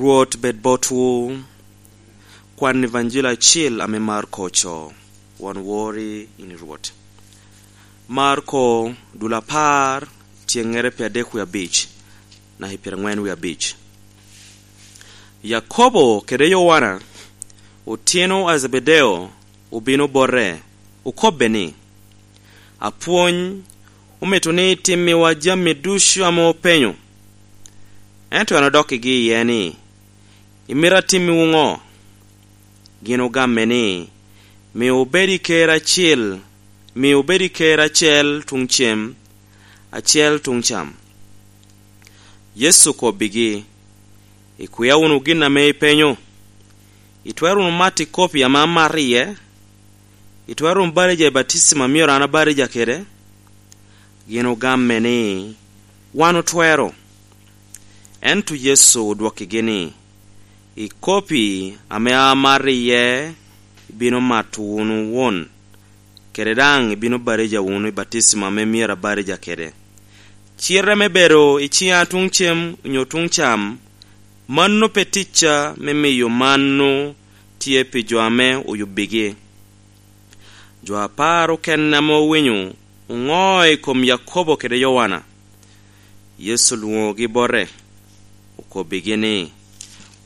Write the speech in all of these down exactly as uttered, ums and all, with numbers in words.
Rwot bed botwu. Kwan Evanjili acil ame Marko oco. Wan wori in i Rwot. Marko, dul apar, tyeŋŋere pi adek wie abic, naka i pyerangwen wie abic. Yakobo kede Yowana, otino a Zebedeo, obino bote, okobbe ni, "Apwony, omito ni itimmiwa jami ducu ame openyo." Ento en odokkigi iye ni, "Imito atimmiwu ŋo?" Gin ogamme ni, "Mi obed i ker acil, mi obed i ker acel tuŋ cem, acel tuŋ cam." Yecu okobbigi, "Ikwia wunu gin ame ipenyo? Itwero wunu mato i kopi ame amato iye? Itwero wunu batija i batisima a myero an abatija kede?" Gin ogamme ni, "Wan otwero." Ento Yecu odwokkigi ni, "I kopi ame amato iye ibino mato wunu won, kede daŋ ibino batija wunu i batisima ame myero abatija kede. Cite me bedo i ciŋa tuŋ cem onyo tuŋ cam, mano pe ticca me miyo mano tye pi jo ame oyubbigi." Jo apar okene ame owinyo oŋo i kom Yakobo kede Yowana. Yecu olwoŋogi bote, okobbigi ni,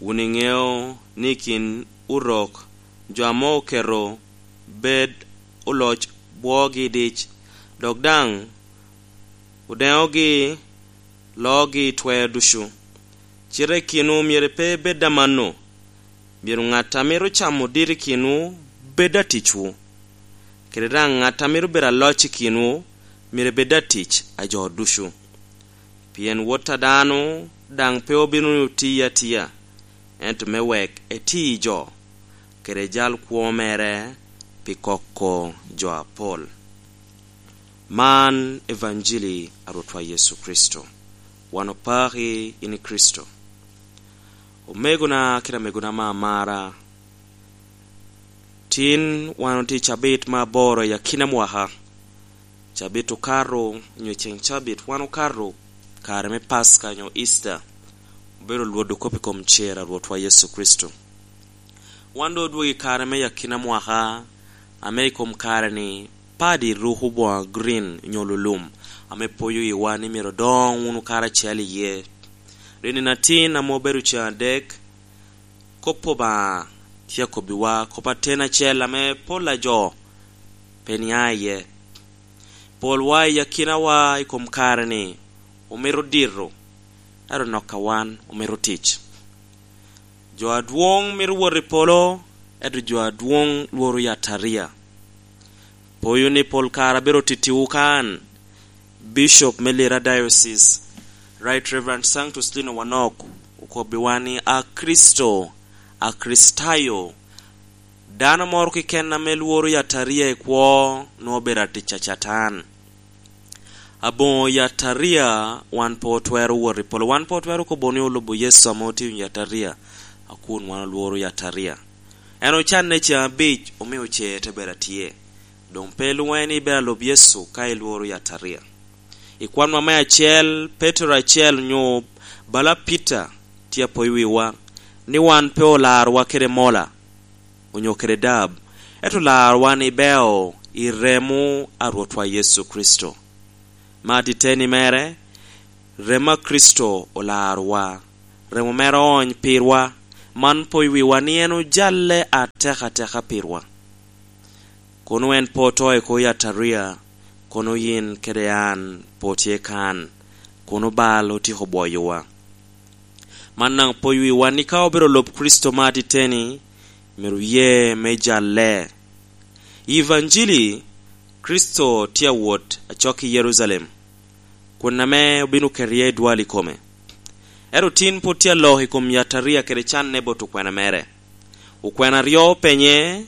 "Wun iŋeo ni i kin Orok jo ame oketo bed oloc bwogi dic, dok daŋ odeŋogi loogi i twer ducu. Cite i kinwu myero pe bed amanno. Myero ŋat a mito camo dit i kinwu bed aticwu, kede daŋ ŋat a mito bedo aloc i kinwu myero bed atic a jo ducu. Pien Wot a dano daŋ pe obino ni oti atia, ento me wek eti jo, kede jal kwo mere pi koko jo apol." Man Evanjili a Rwotwa Yecu Kricito. Wan opaki in i Kricito. Omegona kede amegona ame amara, tin wan otye i cabit me aboro i akina mwaka. Cabit okato, onyo ceŋ cabit wan okato kare me Paska onyo Easter, obedo lwodo kop i kom cer a Rwotwa Yecu Kricito. Wan doŋ odwogo i kare me akina mwaka, ame i kom kare-ni padi ruko boŋo green onyo lulum, ame poyo iwa ni myero odoŋ wunu karacel iye. Ri nino atin ame obedo ceŋ adek, kop Obaŋa tye akobbiwa kop aten acel ame pol a jo pe nia iye. Polwa i akinawa i kom kare-ni omito dito, ento nok a wan omito tic. Jo adwoŋ mito wot i polo, ento jo adwoŋ lworo yataria. Poyo ni pol kare abedo tittiwu kan, Bishop me Lira Diocese, Right Reverend Sanctus Lino Wanok, okobbiwa ni, "A Kricito, a Kricitayo, dano moro keken ame lworo yataria i kwo nwoŋo obedo atic a Catan." Aboŋo yataria wan pe otwero wot i polo. Wan pe otwero kobo ni olubo Yecu ame otye i yataria, a kun wan olworo yataria. En ocanne ceŋ abic, omio cer te bedo atye. Doŋ pe lwoŋe ni ibedo alub Yecu ka ilworo yataria. I kwanwa me acel, Petero acel onyo bala Peter tye apoyo wiwa ni wan pe olarowa kede mola onyo kede dab, ento olarowa ni beo i remo a Rwotwa Yecu Kricito. Me atiteni mere, remo a Kricito olarowa. Remo mere oony pirwa, man poyo wiwa ni en ojalle atek ateka pirwa. Kono en pe oto i kwo yataria, kono yin kede an pe otye kan, kono bal otyeko bwoyowa. Man daŋ poyo wiwa ni ka obedo lub Kricito me atiteni, myero oye me jalle. I Evanjili, Kricito tye awot acok i Jerucalem, kun ame obino keto iye dwal i kome. Ento tin pwod tye alok i kom yataria kede canne bot okwena mere. Okwena aryo openye,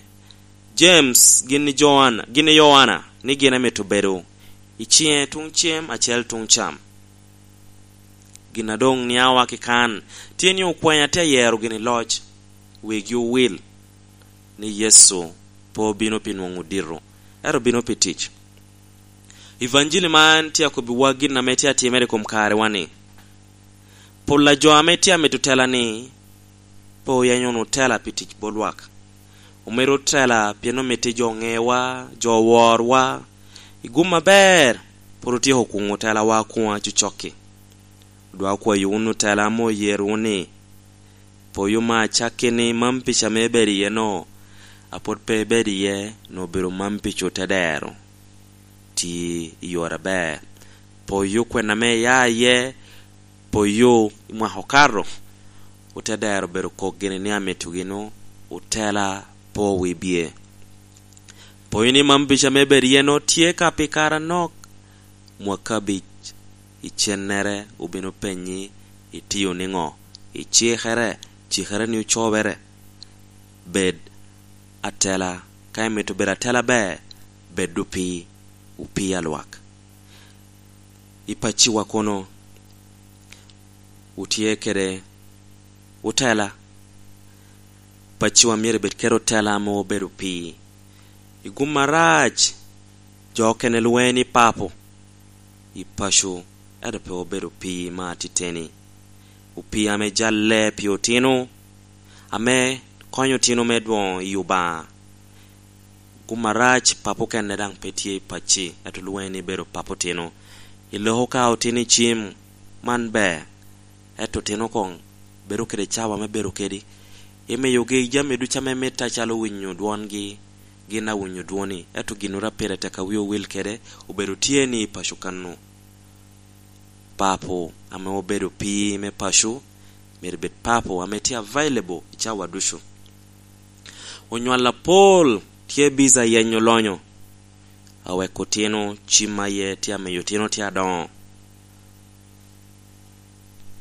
James gin i Joana, gin i Yoana, ni gin amito bedo i ciŋe tuŋ cem acel tuŋ cam. Gin a doŋ niawa ki kan tye ni okwena tye ayero gin i loc, wegi owil, ni Yecu pe obino pi nwoŋo dito, ento obino pi tic. Evanjili man tye akobbiwa gin ame tye atimere i kom karewa ni, pol a jo ame tye amito tela ni, pe oyenyo wunu tela pi tic bot lwak. Omito tela pien omito jo ŋewa, jo worwa. I gum aber, pwod otyeko kuŋo telawa akuŋa cocokki. Odwa kwayo wunu tela ame oyero wunu ni, poyo me acakki ni mam pica me bedo iye no, a pwod pe ibedo iye, no obedo mam pica ote dero. Ti i yore aber. Poyo kwena me iya iye, poyo i mwaka okato, ote dero obedo kok gini ni amito gino, otela po wi bye. Poyo ni mam pica me bedo iye no tye ka pi kare anok, mwaka abic, icennere obino penyi, itiyo niŋo, icikere, cikere ni ocobere. Bed atela, ka imito bedo atela ber, bed opii, opii alwak. I pacciwa kono, wutye kede otela. Pacciwa myero ebed kede otela ame obedo opii. I gum arac, jo okene lweny i papo, i paco, ento pe obedo opii me atiteni. Opii ame jalle pi otino, ame konyo otino me dwoŋo i Obaŋa. Gum arac, papo kene daŋ pe tye i pacci, ento lweny ni bedo papo otino. I loko ka otino i cim, man ber, ento otino koŋ bedo kede cawa me bedo kedi. Imiyogi jami ducu ame mitte acalo winyo dwongi, gin awinyo dwoni, ento ginnoro a pire tek a wi owil kede, obedo tye ni i paco kano. Papo ame obedo pii me paco, myero bed papo ame tye available i cawa ducu. Onywal apol tye biza yenyo lonyo, awek otino cim aye tye amiyo otino tye adoŋo.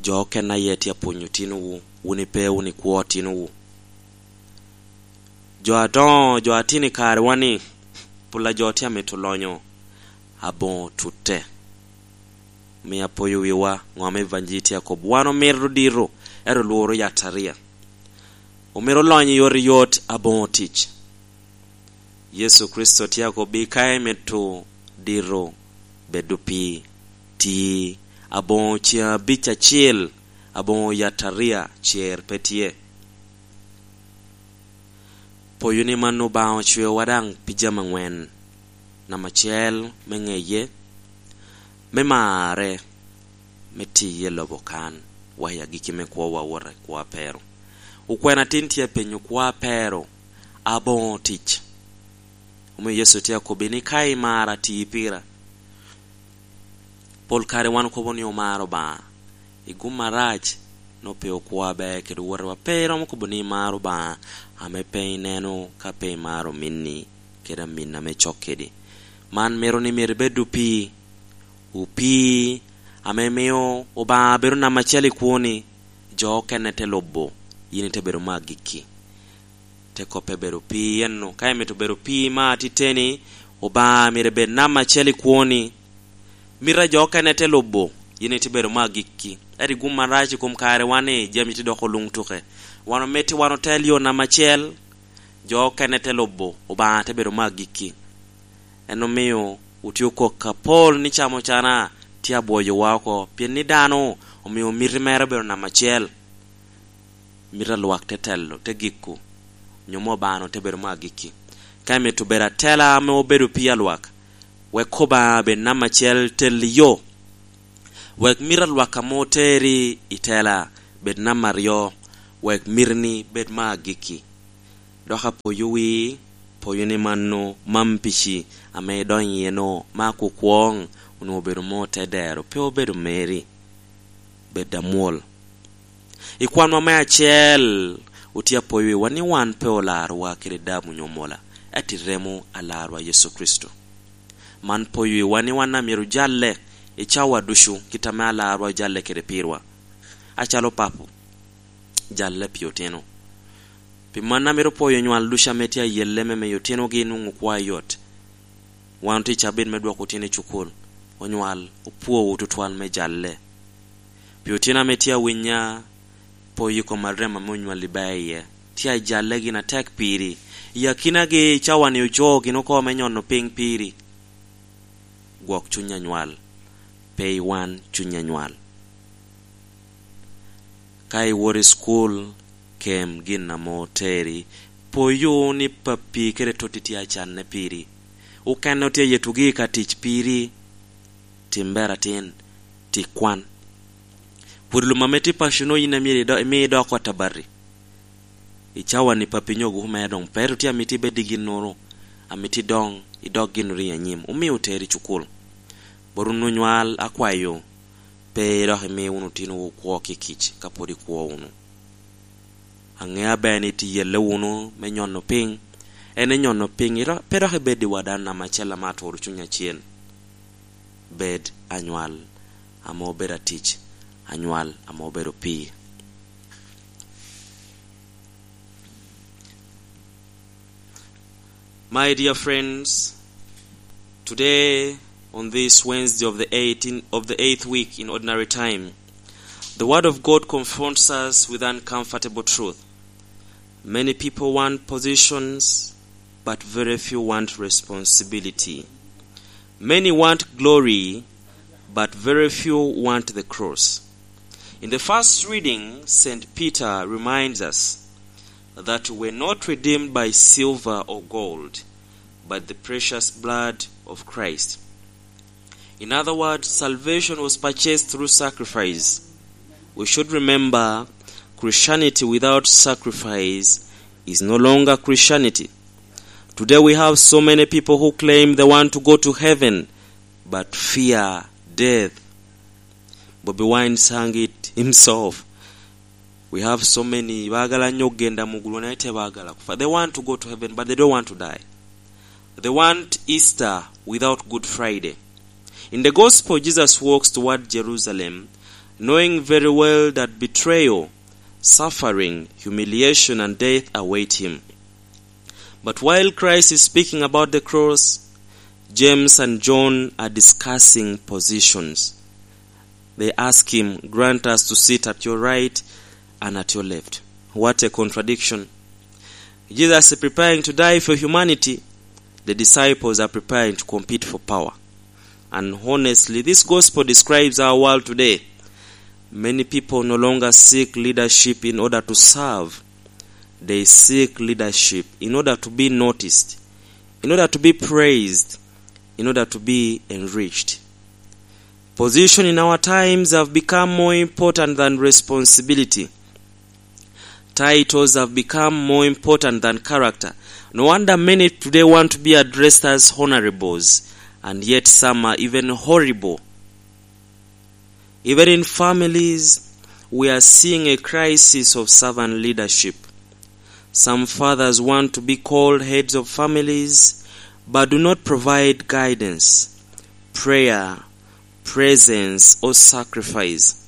Jo okene aye tye apwonyo otinowu, wun ipe wun ikwo otinowu. Jo adoŋo, jo atino i karewa ni, pol a jo tye amito lonyo aboŋo tutte. Omio apoyo wiwa, ŋo ame Evanjili tye akobo. Wan omito dito, ento lworo yataria. Omito lonyo yot i yot aboŋo tic. Yecu Kricito tye akobbi, ka imito dito, bed opii, ti, aboŋo ceŋ abic acel, aboŋo yataria, cer pe tye. Poyo ni man Obaŋa ocweowa daŋ pi jami aŋwen. Namba acel, me ŋeye, me marre, me tiye i lobo kan, wa i agikki me kwowa wot i kwo apero. Okwena tin tye apenyo kwo apero, aboŋo tic. Omio Yecu tye akobbi ni, "Ka imara, ti pira." Pol kare wan okobo ni omaro Obaŋa. I gum arac, no pe okwo aber kede owotewa. Pe iromo kobo ni imaro Obaŋa, ame pe ineno ka pe imaro ominni, kede amin ame cok kedi. Man mito ni myero ibed opii. Opii ame mio Obaŋa bedo namba acel i kwoni, jo okene te lubo, yin ite bedo me agikki. Te koppe bedo pii ennu. Ka imito bedo pii me atiteni, Obaŋa myero ebed namba acel i kwoni. Mito a jo okene te lubo, yin ite bedo me agikki. Ento i gum arac i kom kare wan ni, jami tye doko luŋ tuke. Wan omito wan otel yo namba acel, jo okene te lubo, Obaŋa te bedo me agikki. En omio otye okok apol ni camo cana tye abwoyowa oko, pien ni dano omio miti mere obedo namba acel. Mito a lwak te telo, te giko, onyo mo Obaŋa te bedo me agikki. Ka imito bedo atela ame obedo pii a lwak, wek Obaŋa bed namba acel tel i yo. Wek mito a lwak ame oteri i tela bed namba aryo, wek mitini bed me agikki. Dok apoyo wi, poyo ni mano, mam pici ame idonyo iye no, ma kukwoŋ onwoŋo obedo mo te dero, pe obedo meri. Bed amwol. I kwanwa me acel, otye apoyo wiwa ni wan pe olarowa kede dabu onyo mola, ento i remo a Larwa Yecu Kricito. Man poyo wiwa ni wan amyero jalle i cawa ducu, kit ame Alarwa ojalle kede pirwa. Acalo papo, jalle pi otino. Pi man amito poyo onywal ducu ame tye ayelle me miyo otinogi nwoŋo kwa yot. Wan otye i cabit me dwoko otino i cukul. Onywal, opwowu tutwal me jalle. Pi otino ame tye awinya, poyo i kom arem ame onywalli ba iye. Tye ajalle gin atek piri. I akinagi, cawa-ni oco gin oko me nyono piny piri. Gwok cuny anywal, pe iwan cuny anywal. Ka iwoto i cukul, kem gin ame oteri. Poyo ni pappi kede totti tye acanne piri. Okene otye yetugi i ka tic piri. Tim ber atin, ti kwan. Pwod lum ame tye paco-no yin amyero ido-, imi idok ot abati. I cawa-ni pappi nyo guku mere doŋ pe ru tye amito ibed i ginnoro, amito idoŋ, idok ginnoro i anyim. Omio oteri i cukul. Bot wun onywal akwayo, pe dok imi wunu otinowu kwo kikic ka pwod ikwo wunu. Aŋeo aber ni tye yelle wunu me nyono piny. En enyono piny, iro-, pe dok ibed i wadan ame acel ame aturo cuny acel. Bed anywal ame obedo atic, anywal ame obedo pii. My dear friends, today, on this Wednesday of the eighteenth, of the eighth week in ordinary time, the Word of God confronts us with uncomfortable truth. Many people want positions, but very few want responsibility. Many want glory, but very few want the cross. In the first reading, Saint Peter reminds us that we're not redeemed by silver or gold, but the precious blood of Christ. In other words, salvation was purchased through sacrifice. We should remember, Christianity without sacrifice is no longer Christianity. Today we have so many people who claim they want to go to heaven, but fear death. Bobi Wine sang it himself. We have so many, bagala nyo genda mugulu na ite bagala kufa. They want to go to heaven, but they don't want to die. They want Easter without Good Friday. In the gospel, Jesus walks toward Jerusalem, knowing very well that betrayal, suffering, humiliation, and death await him. But while Christ is speaking about the cross, James and John are discussing positions. They ask him, "Grant us to sit at your right and at your left." What a contradiction. Jesus is preparing to die for humanity. The disciples are preparing to compete for power. And honestly, this gospel describes our world today. Many people no longer seek leadership in order to serve. They seek leadership in order to be noticed, in order to be praised, in order to be enriched. Position in our times have become more important than responsibility. Titles have become more important than character. No wonder many today want to be addressed as honorables, and yet some are even horrible. Even in families, we are seeing a crisis of servant leadership. Some fathers want to be called heads of families, but do not provide guidance, prayer, presence, or sacrifice.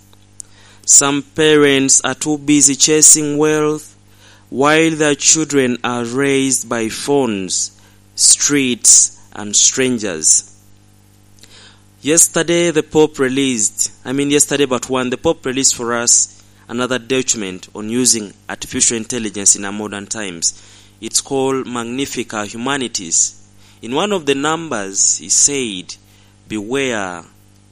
Some parents are too busy chasing wealth, while their children are raised by phones, streets, and strangers. Yesterday, the Pope released, I mean, yesterday but one, the Pope released for us another document on using artificial intelligence in our modern times. It's called Magnifica Humanitas. In one of the numbers, he said, "Beware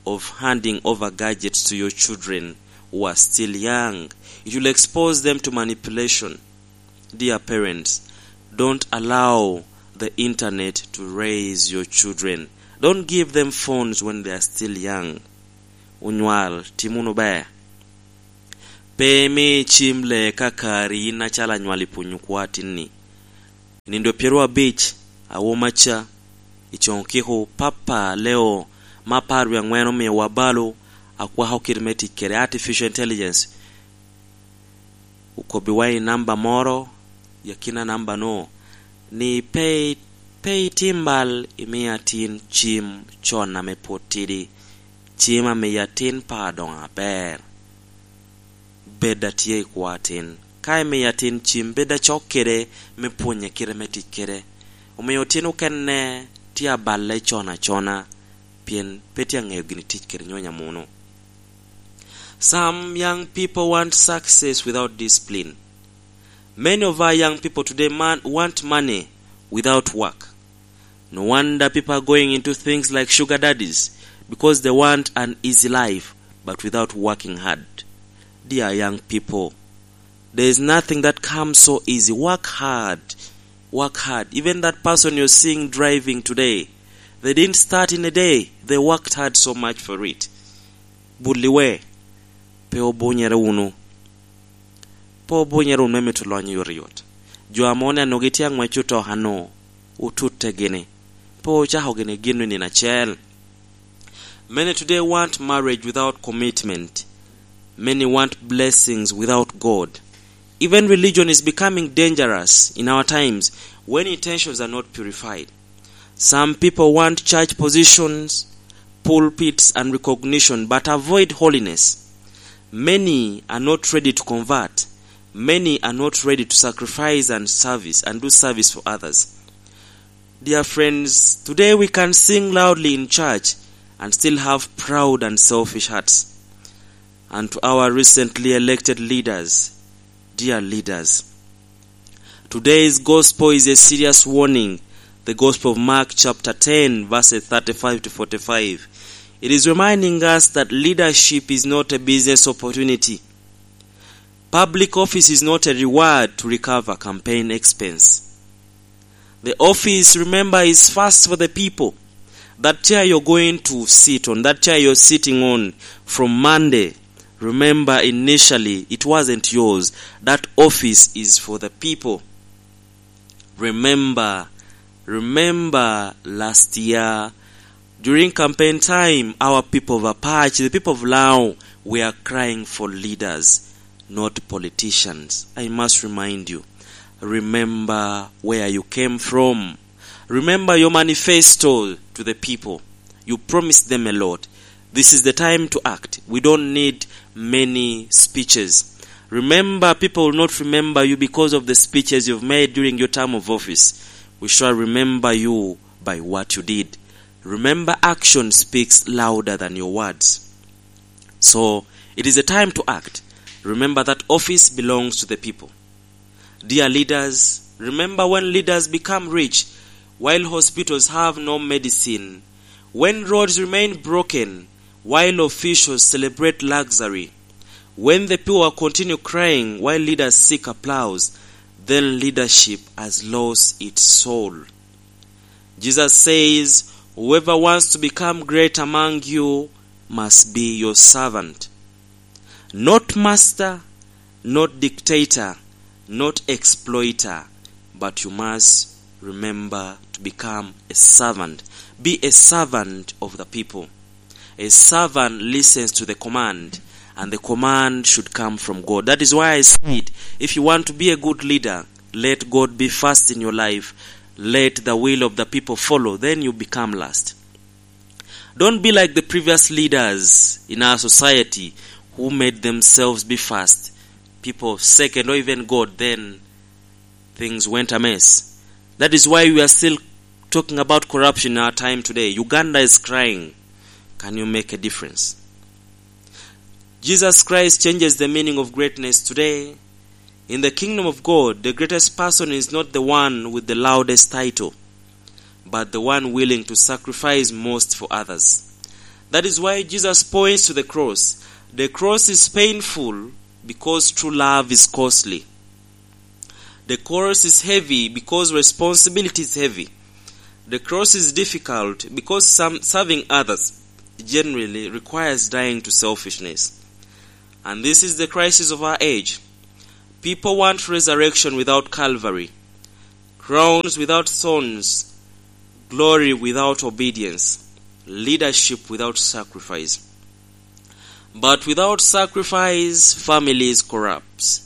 of handing over gadgets to your children who are still young. It will expose them to manipulation." Dear parents, don't allow the internet to raise your children. Don't give them phones when they are still young. Onywal, tim wunu ber. Pe imi cim le ka kari yin acalo anywal i pwonyo kwo atinni. I nindo pyeraryo abic, awomaca, i coŋ kiko, Papa Leo me apar wie aŋwen omiowa balo a kwako kite me tic kede artificial intelligence. Okobbiwa i namba moro, i akina namba-nu, ni pe, pe itim bal imi atin cim con ame pwod tidi, cim ame atin pe adoŋo aber. Bed atye i kwo atin. Ka imiyo atin cim, bed acok kede me pwonye kite me tic kede. Omio tin okene tye aballe con acona, pien pe tye aŋeyo gin tic kede nyonyo amuno. Some young people want success without discipline. Many of our young people today man, want money without work. No wonder people are going into things like sugar daddies, because they want an easy life, but without working hard. Dear young people, There is nothing that comes so easy. Work hard. Work hard. Even that person you're seeing driving today, they didn't start in a day. They worked hard so much for it. Bulli we, pe obunyere wunu. Pe obunyere wunu me mito lony yot yot. Jo ame onenogi tye aŋwec otoka-nu, otutte gini. Pe ocako gini gin i nino acel. Many today want marriage without commitment. Many want blessings without God. Even religion is becoming dangerous in our times when intentions are not purified. Some people want church positions, pulpits, and recognition, but avoid holiness. Many are not ready to convert. Many are not ready to sacrifice and service and do service for others. Dear friends, today we can sing loudly in church and still have proud and selfish hearts. And to our recently elected leaders, dear leaders, today's gospel is a serious warning. The Gospel of Mark chapter ten, verses thirty-five to forty-five. It is reminding us that leadership is not a business opportunity. Public office is not a reward to recover campaign expense. The office, remember, is first for the people. That chair you're going to sit on, that chair you're sitting on from Monday, remember, initially it wasn't yours. That office is for the people. Remember, remember last year, during campaign time, our people of Apache, the people of Lao, were crying for leaders, not politicians. I must remind you, remember where you came from. Remember your manifesto to the people. You promised them a lot. This is the time to act. We don't need many speeches. Remember, people will not remember you because of the speeches you've made during your term of office. We shall remember you by what you did. Remember, action speaks louder than your words. So, it is a time to act. Remember that office belongs to the people. Dear leaders, remember when leaders become rich while hospitals have no medicine, when roads remain broken while officials celebrate luxury, when the poor continue crying while leaders seek applause, then leadership has lost its soul. Jesus says, "Whoever wants to become great among you must be your servant." Not master, not dictator, not exploiter, but you must remember to become a servant. Be a servant of the people. A servant listens to the command, and the command should come from God. That is why I said, if you want to be a good leader, let God be first in your life. Let the will of the people follow. Then you become last. Don't be like the previous leaders in our society who made themselves be first, people second, or even God. Then things went amiss. That is why we are still talking about corruption in our time today. Uganda is crying. Can you make a difference? Jesus Christ changes the meaning of greatness today. In the kingdom of God, the greatest person is not the one with the loudest title, but the one willing to sacrifice most for others. That is why Jesus points to the cross. The cross is painful because true love is costly. The cross is heavy because responsibility is heavy. The cross is difficult because some, serving others generally requires dying to selfishness. And this is the crisis of our age. People want resurrection without Calvary, crowns without thorns, glory without obedience, leadership without sacrifice. But without sacrifice, families corrupt.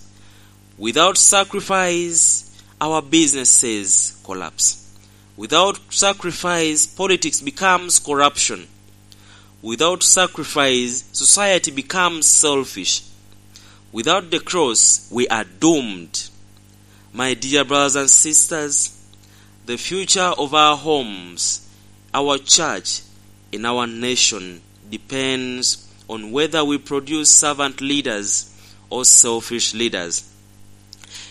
Without sacrifice, our businesses collapse. Without sacrifice, politics becomes corruption. Without sacrifice, society becomes selfish. Without the cross, we are doomed. My dear brothers and sisters, the future of our homes, our church, in our nation depends on whether we produce servant leaders or selfish leaders.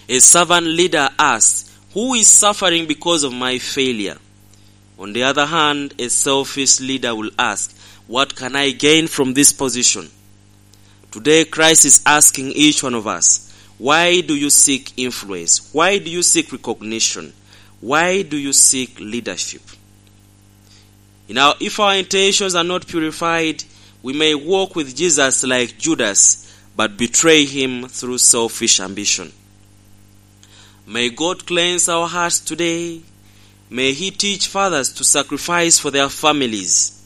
A servant leader asks, "Who is suffering because of my failure?" On the other hand, a selfish leader will ask, "What can I gain from this position?" Today, Christ is asking each one of us, Why do you seek influence? Why do you seek recognition? Why do you seek leadership? You know, if our intentions are not purified, we may walk with Jesus like Judas, but betray him through selfish ambition. May God cleanse our hearts today. May He teach fathers to sacrifice for their families.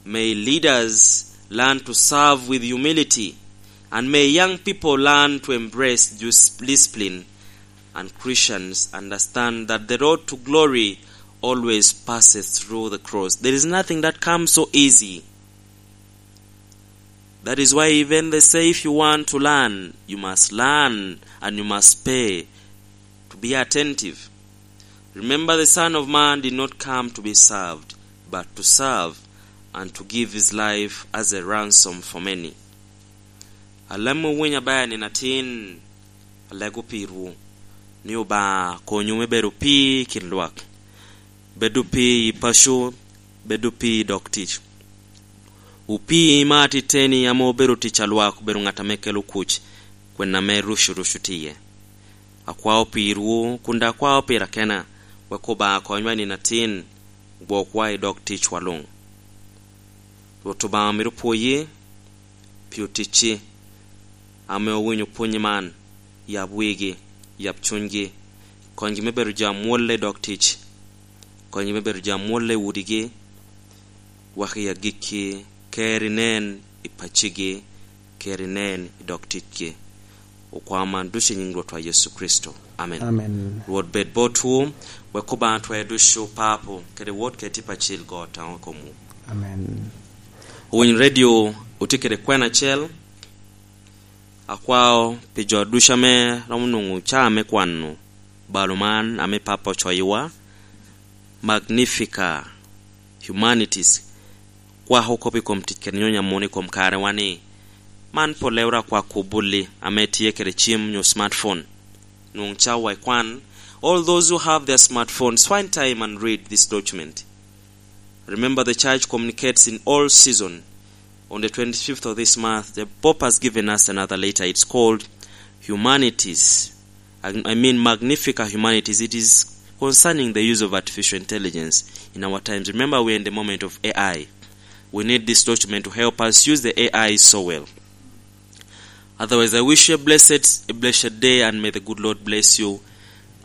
May leaders learn to serve with humility. And may young people learn to embrace dis-, discipline. And Christians understand that the road to glory always passes through the cross. There is nothing that comes so easy. That is why even they say if you want to learn, you must learn and you must pay to be attentive. Remember, the Son of Man did not come to be served, but to serve and to give his life as a ransom for many. Alamo winy aber nino atin, alego pirwu, ni Obaŋa konyu me bedo opii i kin lwak. Bed opii i paco, bed opii i dog tic. Opii me atiteni ame obedo tic a lwak obedo ŋat ame kelo kuc, kwena ame rucu rucu tye iye. Akwao pirwu, kun daŋ akwao pira kena, wek Obaŋa konywa i nino atin, gwokwa i dog ticwa luŋ. Rwot Obaŋa myero opwoyi pi oticci ame owinyo pwonyi man, yab wigi, yab cunygi, konygi me bedo jo amwolle i dog tic, konygi me bedo jo amwolle i udigi, wek i agikki ker inen i paccigi, ker inen i dog ticgi. Okwao man ducu i nyiŋ Rwotwa Yecu Kricito. Amen. Amen. Rwot bed botwu, wek Obaŋa twer ducu Papo, kede Wod kede Tipo Acil go taŋo i komwu. Amen. Owiny redio otye kede kwena acel, akwao pi jo ducu ame romo nwoŋo caa me kwano balo man ame Papo ocoyiwa, Magnifica Humanitas, kwako kop i kom tic kede nyonyo amuno i kom karewa ni, man polle wora kwako obulli ame tye kede cim nyo smartphone. Nwoŋ cawa ikwan. All those who have their smartphones, find time and read this document. Remember, the church communicates in all season. On the twenty-fifth of this month, the Pope has given us another letter. It's called Humanitas. I, I mean, Magnifica Humanitas. It is concerning the use of artificial intelligence in our times. Remember, we are in the moment of A I. We need this document to help us use the A I so well. Otherwise, I wish you a blessed, a blessed day, and may the good Lord bless you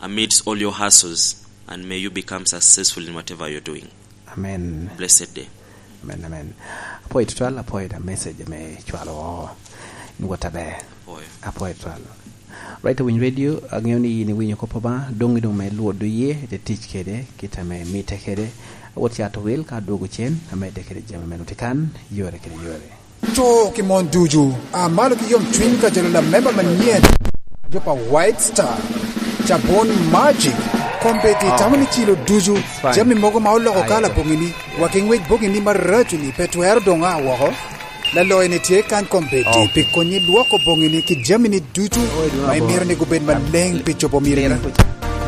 amidst all your hassles, and may you become successful in whatever you're doing. Amen. Blessed day. Amen, amen. Apwoyo tutwal, apwoyo da message ame cwalo woko. In wot aber. Apwoyo. Apwoyo tutwal. Right, Winy Radio, aŋeo ni yin iwinyo kop Obaŋa, doŋ idoŋ me lwodo ye, ite tic kede, kit ame mitte kede. Awot cato wil ka adwogo cen, amedde kede jami me nuti kan, yore kede yore. Cuk i mon ducu, a malo ki yomcwiny ka jalo lamemba manyen, jo pa White Star, cabun Magic, kombeddi tamo ni cilo ducu, jami mogo ma oloko kala boŋini, wa ki ŋwec boŋini maraco-ni pe twero doŋ a woko. Laloyo-ni tye kan kombeddi pi konyi lwoko boŋini ki jamini ducu ma imito ni gubed maleŋ pi cobo mitini.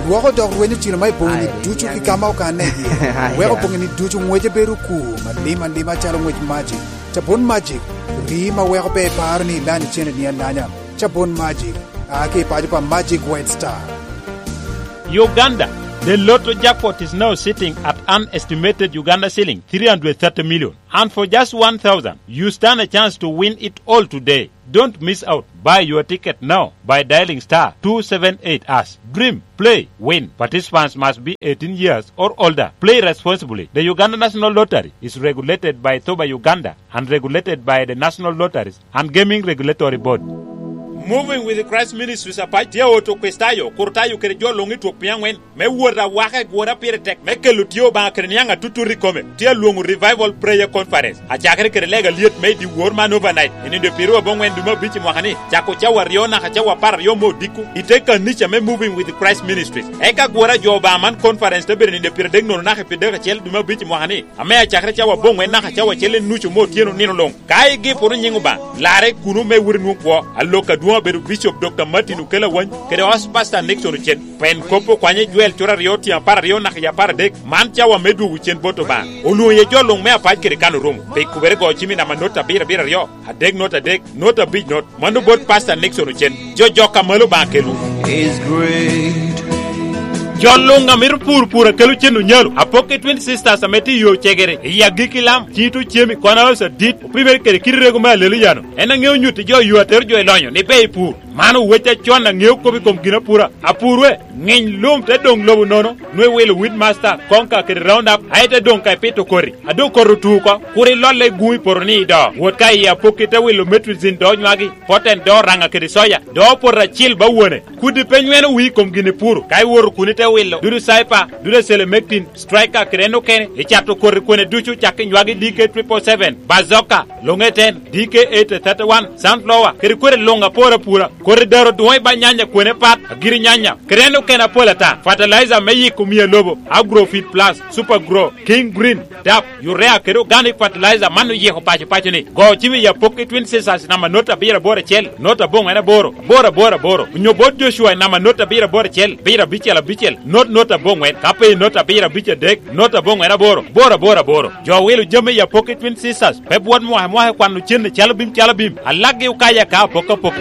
Lwoko dok rwenyo cilo ma i boŋini ducu ki ka ma okanne iye, weko boŋini ducu ŋwece bedo okur, malim alima calo ŋwec Magic. Cabun Magic, rii ma weko pe iparo ni ilanyo cene ni alanya. Cabun Magic, a ki i paco pa Magic White Star. Uganda, the Lotto jackpot is now sitting at an estimated Uganda shilling three hundred thirty million. And for just one thousand, you stand a chance to win it all today. Don't miss out. Buy your ticket now by dialing star two seven eight hash. Dream, play, win. Participants must be eighteen years or older. Play responsibly. The Uganda National Lottery is regulated by Thoba Uganda and regulated by the National Lotteries and Gaming Regulatory Board. Moving with Christ Ministries apac tye oto Kricitayo, Kurtayo kede jo luŋ i twok piny aŋwen me wot awaka i gwora pire tek me kelo tye Obaŋa kede niaŋ atutut i kome. Tye alwoŋo Revival Prayer Conference, acakere kede lega lyet me i dyewor man overnight, i nino pyeraryo aboŋwen dwe me abic i mwaka-ni, cako cawa aryo naka cawa apar aryo me odiko, i te kanica me Moving with Christ Ministries. Eka gwora jo Obaŋa man conference te bedo i nino pyeraryo adek nono naka i pyeraryo acel dwe me abic i mwaka-ni, ame acakere cawa aboŋwen naka cawa acel enucu me otyeno nino luŋ. Ka igiporo nyiŋ Obaŋa, larre kuno me wot inwoŋ kwo, alok adwoŋ Obedo Bishop Doctor Martin Okello Awany kede House Pastor Nixon Ocen. Pen kop okwanye Jwel cura aryo tyen apar aryo naka i apar adek. Man cawa me dwogo cen bot Obaŋa. Olwoŋo iye jo luŋ me apac kede kan orumo. Pe ikubere go cimi namba not abiro abiro aryo, adek not adek, not abic not. Mano bot Pastor Nixon Ocen. Jo jok a malo Obaŋa kelwu. Is great. Jo luŋ a mito pur pur a kelo cen onyalo. Apok i Twin Sisters ame tye i yo cegere, i agikki lam, cito cemi, kono oso dit, opimere kede kit rego me alelo yano. En aŋeo nyutti jo yo atero jo i lonyo ni ber i pur. Man owec acon aŋeo kop i kom ginapura. Apur we, ŋiny lum te doŋ lobo nono, nwe wilo wheat master, konka kede round up, aye te doŋ ka ipito koti. A doŋ koti otu oko, kur ilolle i guŋ i poto ni ido. Wot ka i apokki te wilo metricin do nywagi, poten do raŋa kede soya, do poto acil ba wone. Kudi pe nyweno wii i kom gin ipuro, ka iwoto kun ite wilo, dudu cyper, dudu selemektin, striker kede en okene, icato koti kwene ducu cak i nywagi D K triple seven, bazoka, loŋeten, D K eight thirty-one, sunflower, kede kwede luŋ apor apura, koti daro dwoŋ i ba nyanya kwene pat, agiri nyanya, kede en okene apol ata, fertilizer me yiko mia lobo, Agrofit Plus, Super Grow, King Green, dap, urea kede organic fertilizer man oyiko paco paco ni. Go cim i apok i Twin Sisters namba not abiro aboro acel, not aboŋwen aboro, aboro aboro aboro. Onyo bot Joshua namba not abiro aboro acel, abiro abicel abicel, not not aboŋwen. Ka pe i not abiro abic adek, not aboŋwen aboro, aboro aboro aboro. Jo wilo jami i apok i Twin Sisters, pe bwot mwaka mwaka kwano cen i calo bim calo bim. Alaggi okaya ka apok apok.